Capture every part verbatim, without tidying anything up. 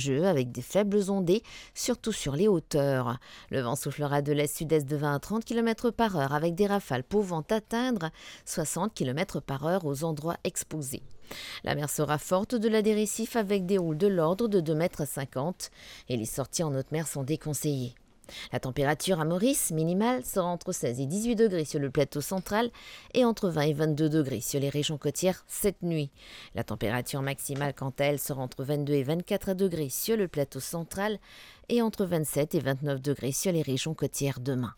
nuageux avec des faibles ondées, surtout sur les hauteurs. Le vent soufflera de l'est-sud-est de vingt à trente kilomètres par heure avec des rafales pouvant atteindre soixante kilomètres par heure aux endroits exposés. La mer sera forte au-delà des récifs avec des houles de l'ordre de deux mètres cinquante et les sorties en haute mer sont déconseillées. La température à Maurice minimale sera entre seize et dix-huit degrés sur le plateau central et entre vingt et vingt-deux degrés sur les régions côtières cette nuit. La température maximale, quant à elle, sera entre vingt-deux et vingt-quatre degrés sur le plateau central et entre vingt-sept et vingt-neuf degrés sur les régions côtières demain.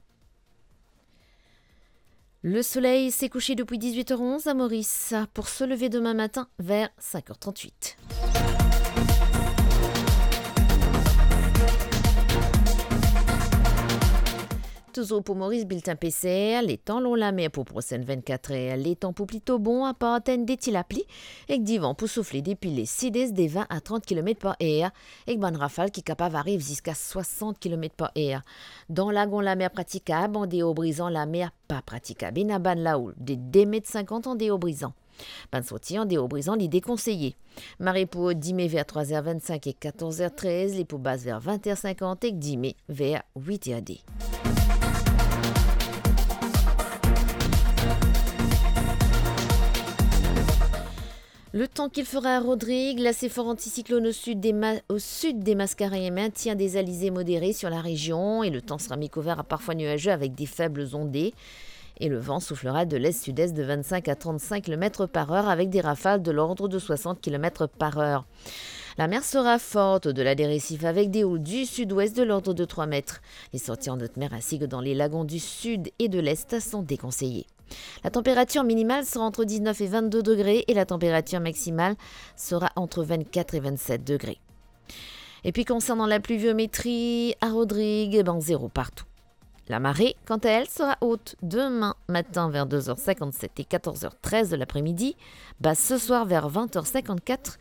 Le soleil s'est couché depuis dix-huit heures onze à Maurice pour se lever demain matin vers cinq heures trente-huit. Touzour pou Moris, biltin P C R, letan lor lamer pou prosenn vennkat er, letan pou plito bon, apar enn de ti lapli, ek divan pou soufle depi le sid-est de vin a trant kilomet par er, ek bann rafal ki kapav ariv ziska swasant kilomet par er. Dan lagon, lamer pratikab, andeor Brizan, lamer pa pratikab. Ena bann laoul de de met sinkant andeor Brizan. Bann sorti andeor Brizan, li dekonseye. Mare pou dime ver trwa er vennsink ek katorz er trez, li pou bas ver vin er sinkant ek dime ver wit er de. Le temps qu'il fera à Rodrigues, là c'est fort anticyclone au sud des Ma-, au sud des Mascareignes, maintien des alizés modérés sur la région et le temps sera mi-couvert à parfois nuageux avec des faibles ondées. Et le vent soufflera de l'est-sud-est de vingt-cinq à trente-cinq kilomètres par heure avec des rafales de l'ordre de soixante kilomètres par heure. La mer sera forte au-delà des récifs avec des houles du sud-ouest de l'ordre de trois mètres. Les sorties en haute mer ainsi que dans les lagons du sud et de l'est sont déconseillées. La température minimale sera entre dix-neuf et vingt-deux degrés et la température maximale sera entre vingt-quatre et vingt-sept degrés. Et puis concernant la pluviométrie, à Rodrigues, ben, zéro partout. La marée, quant à elle, sera haute demain matin vers deux heures cinquante-sept et quatorze heures treize de l'après-midi, basse ce soir vers vingt heures cinquante-quatre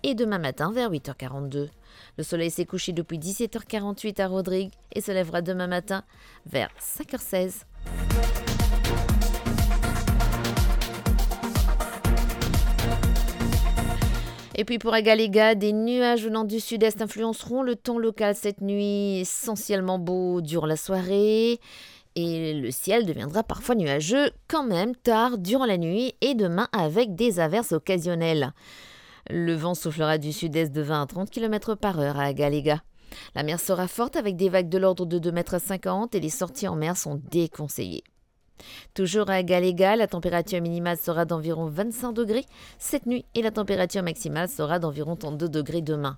et demain matin vers huit heures quarante-deux. Le soleil s'est couché depuis dix-sept heures quarante-huit à Rodrigues et se lèvera demain matin vers cinq heures seize. Et puis pour Agalega, des nuages venant du sud-est influenceront le temps local cette nuit, essentiellement beau durant la soirée. Et le ciel deviendra parfois nuageux quand même tard durant la nuit et demain avec des averses occasionnelles. Le vent soufflera du sud-est de vingt à trente kilomètres par heure à Agalega. La mer sera forte avec des vagues de l'ordre de deux mètres cinquante et les sorties en mer sont déconseillées. Toujours à Agalega, la température minimale sera d'environ vingt-cinq degrés cette nuit et la température maximale sera d'environ trente-deux degrés demain.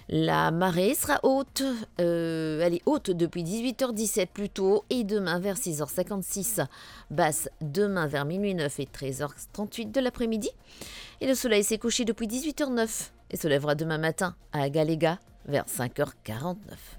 La marée sera haute, euh, elle est haute depuis dix-huit heures dix-sept plus tôt et demain vers six heures cinquante-six, basse demain vers minuit neuf et treize heures trente-huit de l'après-midi. Et le soleil s'est couché depuis dix-huit heures neuf et se lèvera demain matin à Agalega vers cinq heures quarante-neuf.